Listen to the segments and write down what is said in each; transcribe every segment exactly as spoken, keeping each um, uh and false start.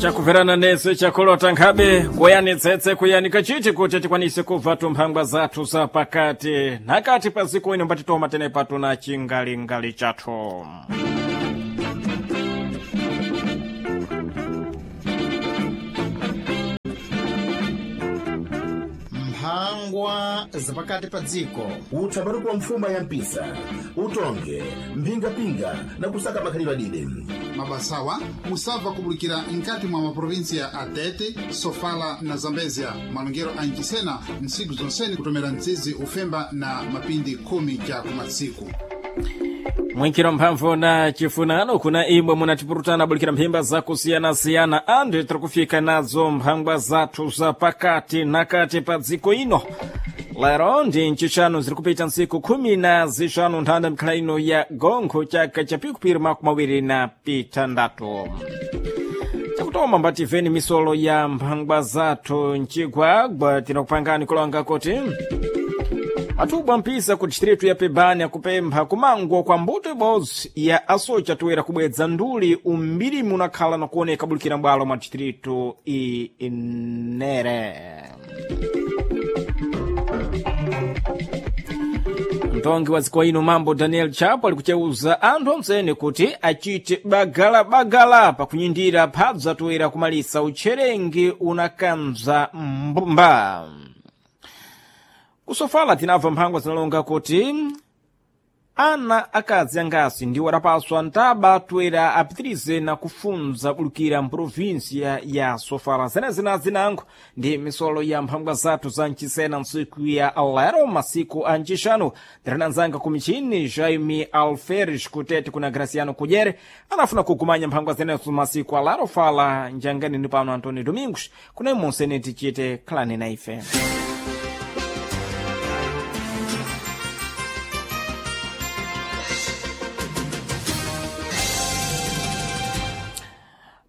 Chakuverana nese chakulota nkhabe kuyanitsetse kuyanika chiti kuti tikwanise kubva tumphangwa zathu za pakati nakati pa ziko ino mbatitoma tenepa tuna chingalingali chathu. Mphangwa zapakati pa dziko. Utsapato kwa mfuma ya mpisa, utonge mphingapinga na kusaka makhalidwe adide. Mabasawa musabva kubulikira nkati mwa maprovinsia a Tete, Sofala na Zambezia. Malongero a Nchisena ntsiku zonseni kutomera mtsizi ufemba na mapindi khumi cha kumatsiku. Mwinkhiro mphamvu na chifunano kuna imwe munatipurutana bulikira mphimba zakusiyanasiyana anthu tiri kufika nazo mphangwa zathu za pakati nakati pa dziko ino. Lero ndi ncixanu ziri kupita ntsiku khumi na zixanu nthanda mikhala ino ya gonkho chaka cha pikupiri makumi awiri na pitandatu. Chakutoma mbativeni misolo ya mphangwa zathu mcigwagwa tinakupangani kulonga kuti atubwa mpisa ku distritu ya Pebani akupempha kumangwa kwa mbuto ibodzi ya asocha toera kubwedza nduli umbirimi unakhala na kuoneka bulikira mbwalo mwa distritu inere. Mtongi wa dziko ino mambo Daniel Chapo ali kucheuza anthu ontsene kuti achite bagalabagala pakunyindira phabza toera kumalisa utcherengi unakanza mbumba. Kusofala tinabva mphangwa zinalonga kuti ana akazi angasi ndiwo adapaswa ntaba toera apitirize na kufunza bulukira mprovinsia ya Sofala. Zenezina zinango ndi misolo ya mphangwa zathu za mchisena ntsiku ya lero masiku a ncixanu. Tirinanzanga ku michini Jaime Alferes kutete kuna Graciano Kudyere anafuna kukumanya mphangwa zenezo masiku a lero. Fala njangani ni pano Antonio Domingos kuna imonsene tichite khalani na ife.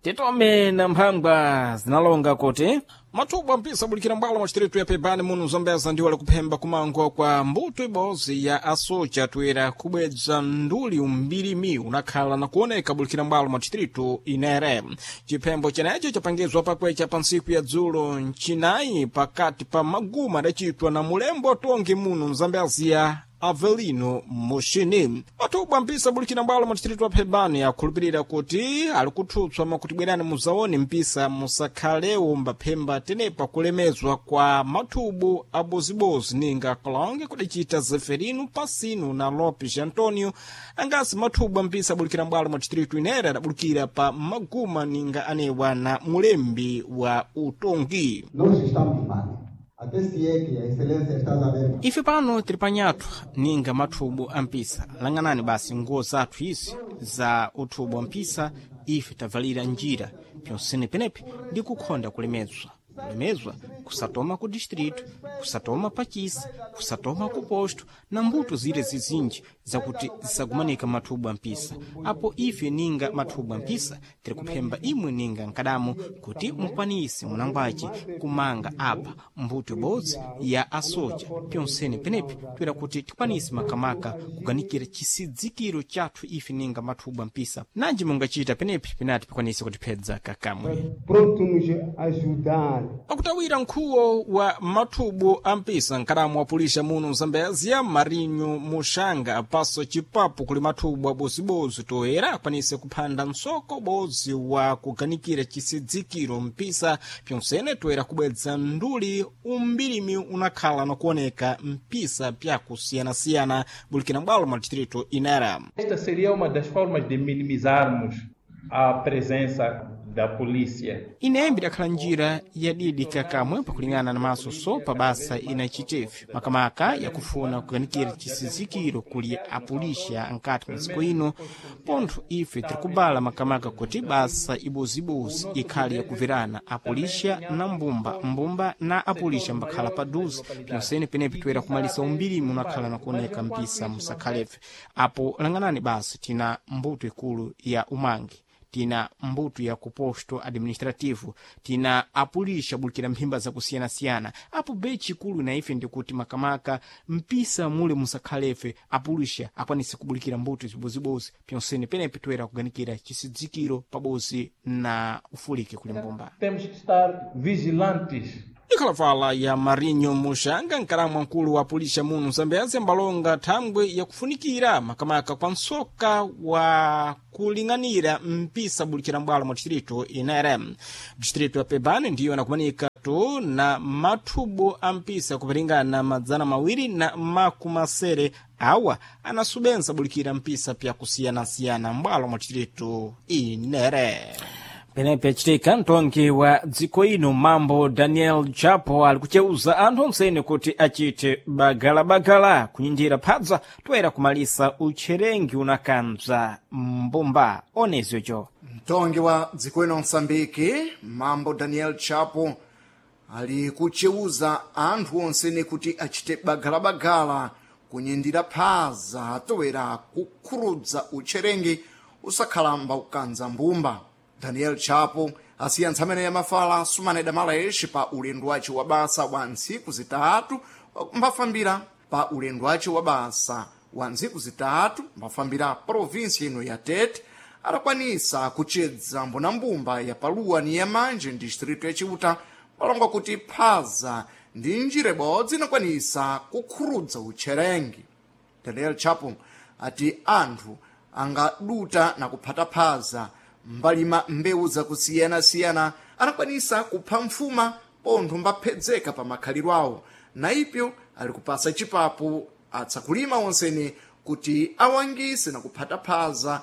Titome na mphangwa zinalonga kuti mathubwa mpisa abulikira mbwalo mwa distritu ya Pebani muno Zambeza ndiwo alikuphemba kumangwa kwa mbuto ibodzi ya asocha toera kubwedza nduli umbirimi unakhala na kuoneka bulikira mbwalo mwa distritu inere. Chiphembo chenecho chapangizwa pakwecha pa ntsiku ya dzulo ncinayi pakati pa maguma adacitwa na mulembo tongi muno Mzambezia Avelino Mushini. Mathubwa mpisa bulikira mbwalo mwa distritu wa Pebani akhulupirira kuti ali kuthutswa makuti bwerani muzaone mpisa musakhalewo mbaphemba tenepa kulemezwa kwa mathubu abozibozi ninga kalonge kudacita Zeferino Pasino na Lopes Antonio angasi mathubu ampisa abulikira mbwalo mwa distritu inere adabulukira pa maguma ninga anewa na mulembi wa utongi. Nós estamos mal. Até se é que a excelência está a ver. Ife pano tiri panyathu ninga mathubu ampisa. Lang'anani basi nguwo zathu izi za uthubu wa mpisa ife tavalira njira pyonsene penepi ndi kukhonda kulemezwa. Kulemezwa kusatoma ku distritu, kusatoma pachisa, kusatoma ku posto na mbuto zire zizinji zakuti zisagumanika mathubu ampisa. Apo ife ninga mathubu ampisa tiri kuphemba imwe ninga nkadamu kuti mukwanise munangwace kumanga apa mbuto ibodzi ya asocha pyonsene penepi toera kuti tikwanise makamaka kuganikira chisidzikiro chathu ife ninga mathubu ampisa. Nanji mungachita penepi penati pikwanise kutiphedza kakamwe. Pronto nos ajudar. Pakutawira nkhuwo wa mathubu ampisa nkadamu wa muno Mzambezia Marinho Muxanga apaso chipapo kuli mathubu abozibozi toera akwanise kuphanda msoko bodzi wa kuganikira chisidzikiro mpisa pyonsene toera kubwedza nduli umbirimi unakhala na kuoneka mpisa pyakusiyanasiyana bulikira mbwalo mwa distrito inera. Esta seria uma das formas de minimizarmos a presença da polícia. Inembe idakhala njira yadidi kakamwe pakulingana na maso so pa basa inachitevi makamaka yakufuna kuganikira chisizikiro kuli apulisha nkati mwa dziko ino. Pontho ife tirikubala makamaka kuti basa ibozibozi ikhale yakuverana apulisha na mbumba, mbumba na apulisha mbakhala paduze pyonsene penepi toera kumalisa umbirimi unakhala na kuoneka mpisa musakhalefe. Apo lang'anani basi tina mbuto ikulu ya umangi Tina mbuto ya kuposto administrativo, tina apulisha bulikira mphimba zakusiyanasiyana. Apo be chikulu na ife ndikuti makamaka mpisa mule musakhalefe apulisha akwanise kubulikira mbuto zibozibozi pyonsene penepe toera kuganikira chisidzikiro pabozi na ufulike kuli mbumba. Temos que estar vigilantes. Ikhalavala ya Marinho Muxanga, nkalamu mkulu wa pulisha muno Zambezi, ambalonga thangwe yakufunikira makamaka kwa msoka wa kuling'anira mpisa bulikira mbwalo mwa distrito inere. Distrito ya Pebane ndiyo anakumanika tu na mathubo a mpisa kupiringana madzana mawiri na makumasere awa anasubenza bulikira mpisa pyakusiyanasiyana mbwalo mwa distrito inere. Penepe achitika mtongi wa dziko ino mambo Daniel Chapo ali kucheuza anthu onsene kuti achite bagalabagala kunyinjira phadza toera kumalisa utcherengi unakambza mbumba onezocho. Mtongi wa dziko ino Msambiki mambo Daniel Chapo ali kucheuza anthu onsene kuti achite bagalabagala kunyindira phaza atowera kukhurudza utcherengi usakhalamba kukanza mbumba. Daniel Chapo asiya ntsamene ya mafala sumaneda malexi pa ulendo wace wa basa wa ntsiku zitatu mbafambira pa ulendo wace wa basa wa ntsiku zitatu mbafambira provinsi ino ya Tete, adakwanisa kucedza mbonambumba ya Paluwa ni yamanje distrito ya Chiuta, malonga kuti phaza ndi njira ibodzi inakwanisa kukhurudza utcherengi. Daniel Chapo ati anthu angaduta na kuphata phaza mbalima mbewu zakusiyanasiyana anakwanisa kupha mfuma pontho mbaphedzeka pa makhalidwe awo, na ipyo ali kupasa chipapu atsakulima onsene kuti awangise na kuphata phaza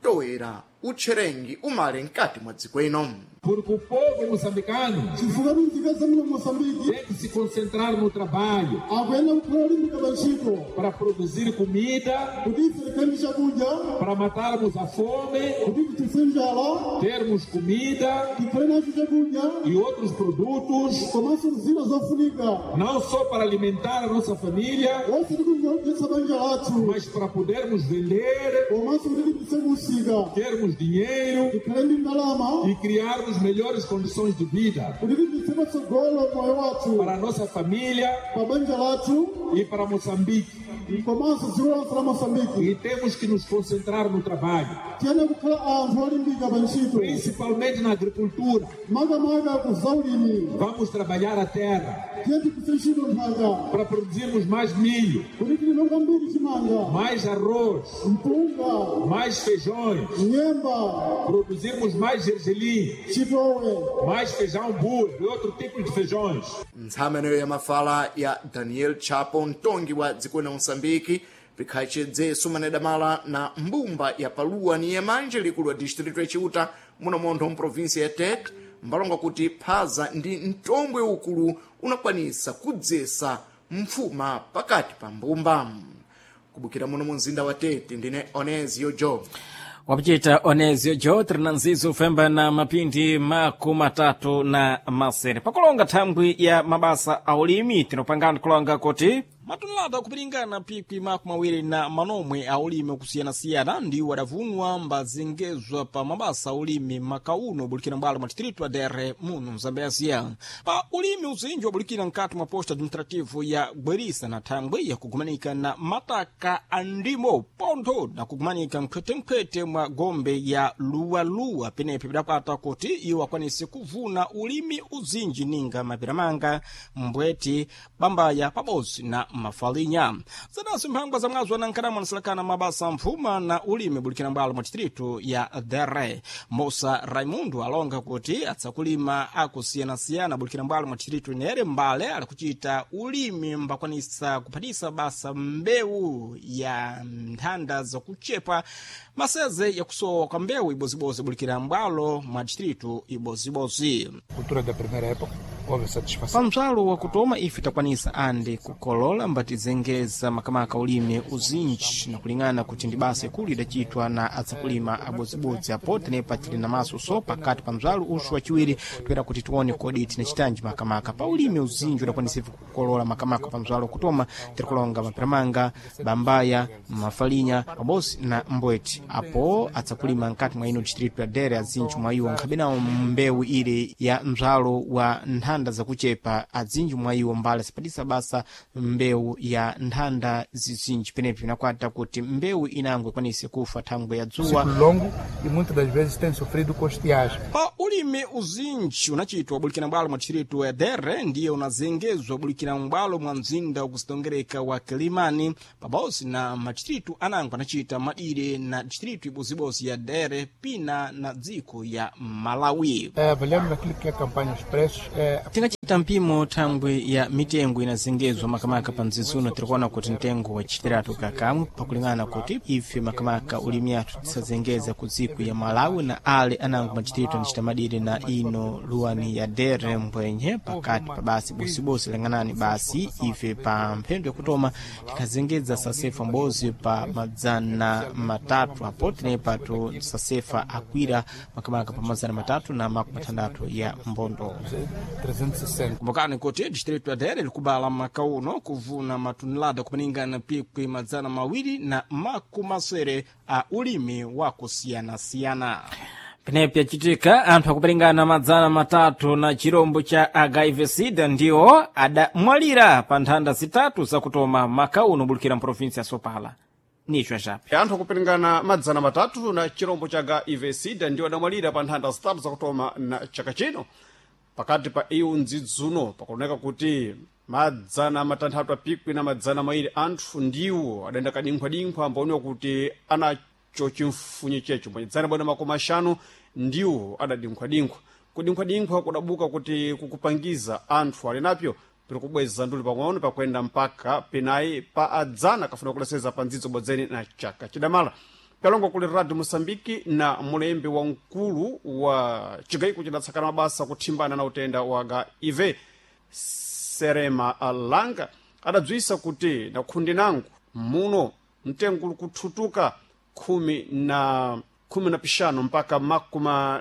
toera utcherengi umale mkati mwa dziko ino. Porque o povo moçambicano chifukwa tinzika muno Moçambique tem que se concentrar no trabalho akuyenda kukhala olimbika pa ntchito para produzir comida, kuti ife tikhale ndi chakudya, para matarmos a fome, kuti tithetse njala, termos comida tikhale nacho chakudya e outros produtos, komanso zina zofunika, não só para alimentar a nossa família, wonse tikungodyetsa banja lathu, mas para podermos vender, komanso kuti tipitse kusika, termos dinheiro tikhale ndi ndalama e criarmos melhores condições de vida kuti tipitse patsogolo moyo wathu para a nossa família pa banja lathu e para Moçambique. komanso dziko lonse la Moçambique. E temos que nos concentrar no trabalho, Tiyene kukhala anthu olimbika pa ntchito, principalmente na agricultura. makamaka ku zaulimi. Vamos trabalhar a terra Tiye tigwire ntchito nthaka para produzirmos mais milho, kuti tilime kwambiri chimanga, mais arroz, mpunga, mais feijões, nyemba, produzirmos mais gergelim, chitowe, mais feijão burro e outro tipo de feijões. Ntsameneyo ya mafala ya Daniel Chapo, mtongi wa dziko la Moçambique, pikhachedze sumaneda mala na mbumba ya Paluwa ni yamanje likulu wa distrito ya Chiuta muno montho mprovinsi ya Tete, mbalonga kuti phaza ndi mtombwe ukulu unakwanisa kudzesa mfuma pakati pa mbumba. Kubukira muno mu mzinda wa Tete, ndine Onesio Job. Wapichita Onesio Jo trinanzizo femba na mapindi makumi matatu na masere pakulonga thangwi ya mabasa a ulimi. Tinopangana kulonga kuti matunulata kupiringana pikwi makumi awiri na manomwe a ulimi okusiyanasiyana ndiwo adavunwa mbazengezwa pa mabasa a ulimi makauno bulikira mbwalo mwa distrito adere muno Mzambezia. Pa ulimi uzinji wabulikira mkati mwa posto administrativo ya Gwerisa na thangwi yakugumanika na mataka a ndimo pontho na kugumanika mkhwetenkhwete mwa gombe ya luwaluwa penepe pidakwata kuti iwo akwanise kuvuna ulimi uzinji ninga mapiramanga, mbweti, bambaya pabodzi na mafalinya. Zadaso mphangwa za mwazo anankhalamu anasalakana mabasa mphuma na ulimi bulikira mbwalo mwa distrito ya Dere. Mosa Raimundo alonga kuti atsakulima akusiyanasiyana bulikira mbwalo mwa distrito inere mbale ali kuchita ulimi mbakwanisa kuphatisa basa mbewu ya nthanda zakuchepa maseze yakusowa kwa mbewu ibozibozi bulikira mbwalo mwa distrito ibozibozi. Cultura da primeira época, Houve satisfação. Pamzwalo wakutoma ife takwanisa ande kukolola mbatizengeza makamaka ulimi uzinji na kulingana kuti ndi basa ikulu idacitwa na atsakulima abodzibodzi apo tenepa tili na maso so pakati pa mzwalo uxu waciwiri toera kuti tione kodi tinacitanji makamaka pa ulimi uzinji udakwanisa ife kukolola makamaka pa mzwalo wakutoma tirikulonga mapiramanga bambaya mafalinya pabosi na mbweti apo atsakulima nkati mwa ino distritu ya Dere azinji mwa iwo nkhabe nawo mbewu ile ya mzwalo wa nthanda zakuchepa azinji mwa iwo mbala sipatisa basa mbewu ya nthanda zizinji penepi pinakwata kuti mbewu inango ikwanise kufa thangwe ya dzuwa Ciclo longo e muitas das vezes tem sofrido com estiagem. Pa ulimi uzinji unachitwa bulikira mbwalo mwa distritu ya Dere ndiye unazengezwa bulikira mbwalo mwa mzinda wakusitongereka wa Kilimani pabosi na madistritu anango anachita madire na distritu ibozibozi ya Dere pina na dziko ya Malawi. Eh, avaliando naquilo que é a campanha dos preços, eh, Tingachita mpimo thangwe ya mitengo inazengezwa makamaka pa mzizuno tirikuona kuti mtengo wacitiratu kakamwe pakulingana kuti ife makamaka ulimi athu tisazengeza ku dziko ya Malawi na ale anango machitiritu anachita madire na ino luwani ya Dere mbwenye pakati pa basi bosibosi ling'anani basi ife pa mphendo yakutoma tikhazengeza sasefa mbozi pa madzana matatu apo tenepa tu sasefa akwira makamaka pa madzana matatu na makumi matandatu ya mbondo. trezentos e sessenta. Kumbukani kuti distritu ya Dere likubala maka uno kuvuna matunilada kupaningana pikwi madzana mawiri na makumi masere a ulimi wa kusiyanasiyana. Penepi yacitika anthu akuperingana madzana matatu na chirombo cha H I V SIDA ndiwo adamwalira pa nthanda zitatu zakutoma maka uno bulukira mprovinsi ya Sopala. Nicho achape. Anthu akuperingana madzana matatu na chirombo cha H I V SIDA ndiwo adamwalira pa nthanda zitatu zakutoma na chaka chino. Pakati pa iwo ndzidzuno pakuoneka kuti madzana matanthatu apikwi na madzana mawiri anthu ndiwo adayenda kadinkhwadinkhwa ambaoneka kuti anacho chimfunye checho madzana bwana makumi axanu ndiwo adadinkhwadinkhwa. Kudinkhwadinkhwa kudabuka kuti kukupangiza anthu ali napyo piri kubweza nduli pang'ono pakuenda mpaka penayi pa adzana kafuna kuleseza pa ndzidzo bodzeni na chaka chidamala. Kalongo kuli Radio Moçambique na mulembi wa mkulu wa chigayiko chidatsakana mabasa kuthimbana na utenda wa H I V Serema Alanga adabzwisa kuti na khundi nangu muno mtengo uli kuthutuka khumi na khumi na pixanu mpaka makumi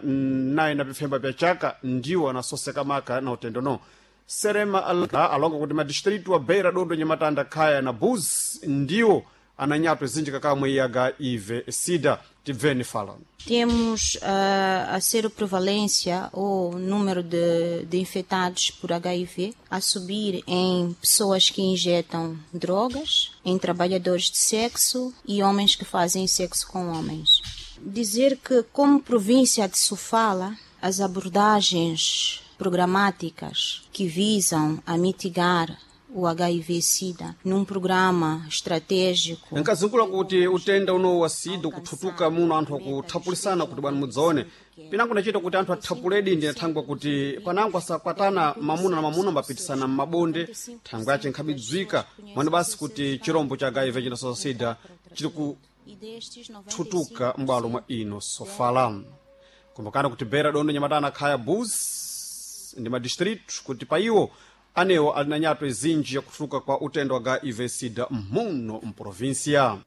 nayi na pifemba pya chaka ndiwo anasoseka maka na utendo no. Serema Alanga alonga kuti madistritu wa Beira, Dondo, Nyamatanda, Khaya na Buzi ndiwo ananyatwa zinji kakamwe ya H I V SIDA. Tibveni fala. Temos uh, a seroprevalência ou número de, de infectados por H I V a subir em pessoas que injetam drogas, em trabalhadores de sexo e homens que fazem sexo com homens. Dizer que, como província de Sofala, as abordagens programáticas que visam a mitigar o H I V SIDA num programa estratégico. Nkazungula kuti utenda uno wa SIDA kuthutuka muno anthu akuthapulisana kuti bwana mudzaone pinango nachita kuti anthu athapuledi ndi thangwe kuti panango asakwatana mamuna na mamuna ambapitisana m'mabonde thangwe yace nkhabidzwika mwani basi kuti chirombo cha H I V chinasoza SIDA chili kuthutuka m'bwalo mwa ino Sofala. Kumbukani kuti Beira, Dondo, Nyamatana, Khaya, Buzi ndi madistritu kuti pa iwo anewo ali na nyatwa izinji yakutuluka kwa utendo wa H I V SIDA muno mprovinsia.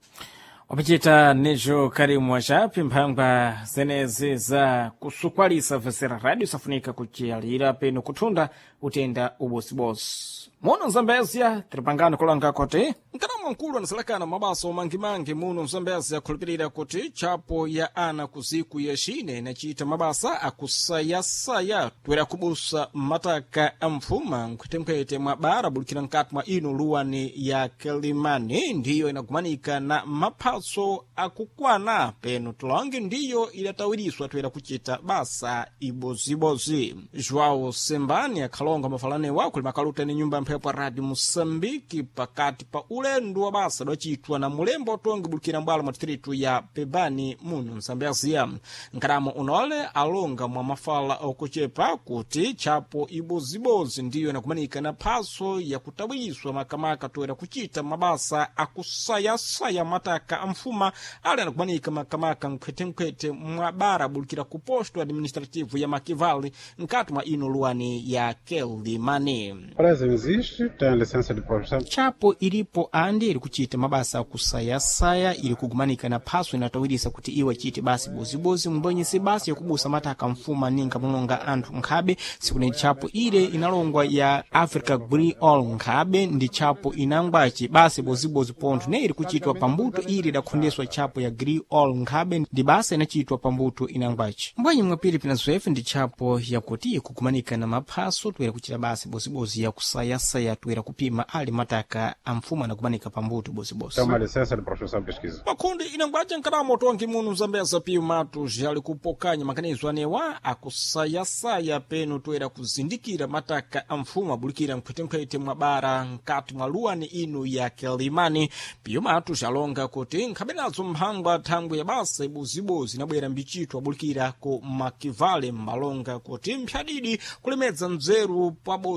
Wapachita nicho karimu wachapi mphangwa zenezi za kusukwalisa vesera radio safunika kuciyalira peno kuthunda utenda ubosibosi muno mzambezia tiripangano kulanga kuti mkanamu mkulu anasalakana mabaso mangimangi muno mzambezia khulupirira kuti tchapo ya ana kuziku ya xine inacita mabasa akusayasaya toera kubusa mataka a mfuma nkhwetenkhwete mwa bara bulikira nkati mwa ino luwani ya Kilimani ndiyo inagumanika na maphaso akukwana peno tulonge ndiyo idatawiriswa toera kucita basa ibozibozi. João Sembani akhalonga mafalanewa kuli makaluta ni nyumba mphepo Radio Moçambique pakati pa ulendo wa basa dacitwa na mulembo otongi bulikira mbwalo mwa distritu ya Pebani muno Msambezia. Nkaramo unole alonga mwa mafala okuchepa kuti tchapo ibozibozi ndiyo inakumanika na phaso yakutawizwa makamaka toera kuchita mabasa akusayasaya mataka amfuma ali anakumanika makamaka nkhwetenkhwete mwa bara bulikira ku posto administrativo ya Makivali nkati mwa ino luwani ya Kelimani. Empresa existe, tem licença de produção. Tchapo ilipo andi iri kuchita mabasa akusayasaya ili kugumanika na phaso inatawirisa kuti iwo achite basi bozibozi mbwenyese basi yakubusa mataka mfuma ninga mulonga anthu nkhabe sikuni tchapo ile inalongwa ya Africa Green All nkhabe ndi tchapo inangwaci basi bozibozi pontho ne iri kuchitwa pambuto ili idakhondeswa tchapo ya Green All nkhabe ndi basa inachitwa pambuto inangwaci mbwenye mwapiri pina zwefe ndi tchapo yakuti ikugumanika na maphaso toera kuchita basi bozibozi yakusayasaya toera kupima ali mataka amfumo anakumanika pambuto bozibozi. Tem uma licença de produção e pesquisa. Makundi inangwaja nkalamo tongi munu zambeza piu matos ali kupokanya maganizo anewa akusayasaya peno toera kuzindikira mataka amfumo abulikira nkhwetenkhwete mwa bara nkati mwa luwani ino ya Kelimani. Piu matos alonga kuti nkhabenazo mphangwa thangwe ya basa ibozibozi inabwera mbichitwa abulikira ku Makivale mmalonga kuti mphyadidi kulemedza nzeru pabodzi.